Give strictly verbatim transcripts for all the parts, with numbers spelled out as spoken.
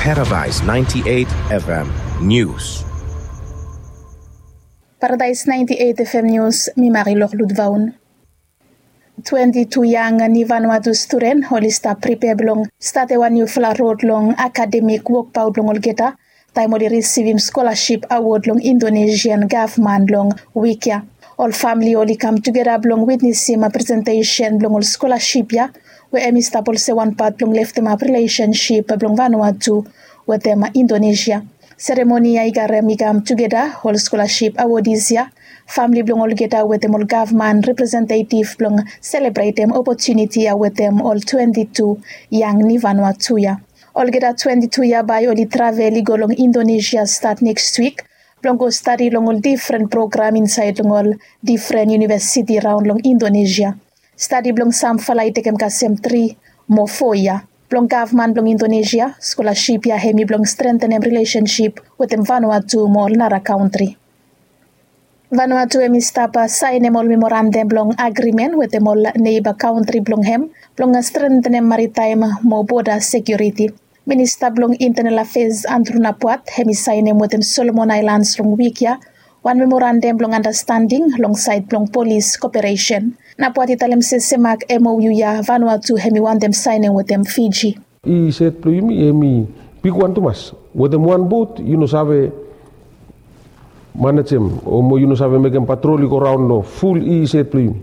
Paradise ninety-eight F M News. Paradise ninety-eight F M News, mi Marilor Ludvaun. Twenti tu yang ni Vanuatu studen oli stap pripea blong statem wan niufala rod long akademik wokbaot blong olgeta taem oli risivim skolaship awod long Indonesian gavman long wik ya. Ol famili oli kam tugeta blong witnesim presentesen blong ol skolaship ya, we hemi stap olsem wan pat blong leftemap rilesensip blong Vanuatu wetem Indonesia. Seremoni ya i garem i kam tugeta ol skolaship awodis ya, famili blong olgeta wetem ol gavman representetiv blong selebretem opotuniti ya wetem ol twenti tu yang ni Vanuatu ya. Olgeta twenti tu ya bae oli travel i go long Indonesia stat nekst wik blong go stadi long ol difren program insaed long ol difren univesiti raon long Indonesia. Stadi blong samfala i tekem kasem tri mo fo yia. Blong gavman blong Indonesia, skolaship ya hemi blong strentenem rilesensip wetem Vanuatu mo ol nara kantri. Vanuatu hemi stap saenem ol memorandam blong agrimen wetem ol neiba kantri blong hem blong strentenem maritaem mo boda sekiuriti. Minista blong Intenal Afeas Andrew Napuat hemi saenem wetem Solomon Aelans long wik ya wan memorandam blong andastanding long saed blong polis koperesen. Napuat i talem se semak M O U ya Vanuatu hemi wantem saenem wetem Fiji. I set blong yumi hemi bigwan tumas. Wetem wan bot yu no save manejem o mo yu no save mekem patrol i go raon long ful i set blong yumi.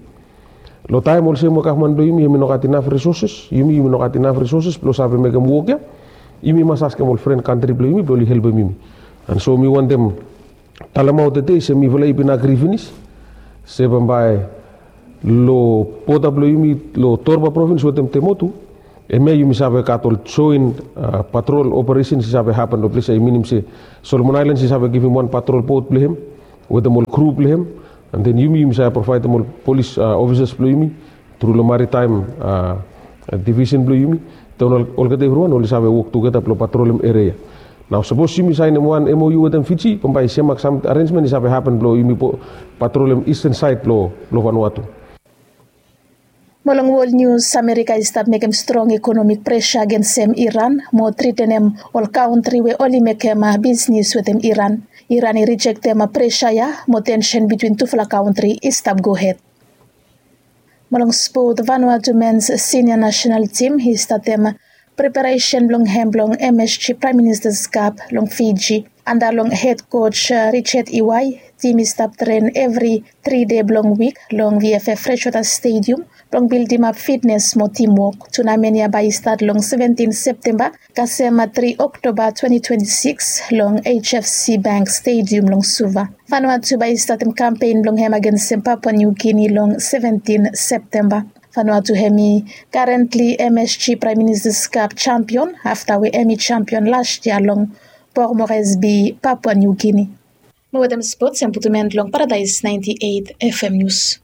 Long taem olsem we gavman blong yumi hemi no gat inaf risoses, yumi yumi no gat inaf risoses blong save mekem wok ya, yumi mas askem ol fren kantri blong yumi blong oli helpem yumi. An so mi wantem talemaot tede se mifala i bin agri finis se bambae long boda blong yumi long Torba provins wetem Temotu, hemia yumi save gat ol joen patrol operesens i save hapen long ples ya. I minim se Solomon Aelans i save givim wan patrol bot blong hem wetem ol kru blong hem. An den yumi yumi save provaedem ol polis ofisas blong yumi tru long maritaem divisen blong yumi. Taem olgeta evriwan oli save wok tugeta blong patrolem eria ya. Nao sapos yumi saenem wan M O U wetem Fiji bambae semak sam arenjmen i save hapen blong yumi patrolem isten saed blong Vanuatu. Mo long wol nius, Amerika i stap mekem strong ekonomik presa agensem Iran mo tretenem ol kantri we oli mekem bisnis wetem Iran. Iran i rijektem presa ya mo tensen bitwin tufala kantri i stap gohed. Mo long spot, Vanuatu mens sinia nasenal tim i statem preparesen blong hem blong M S G Praem Ministas Kap long Fiji. Anda long hed koj Richard Iwai, tim i stap tren evri tri dei blong wik long V F F Freshwater Stadium blong bildimap fitnes mo timwok. Tunamen ya bae i stat long seventin Septemba kasem tri Oktoba twenti twenti sikis long H F C Bank Stadium long Suva. Vanuatu bae i statem kampen blong hem agensem Papua New Guinea long seventin Septemba. Vanuatu hemi karentli M S G Praem Ministas Kap jampion afta we hemi jampion las yia long Port Moresby, Papua New Guinea. Mo wetem spots, hemi putum en long Paradise naenti eit F M Nius.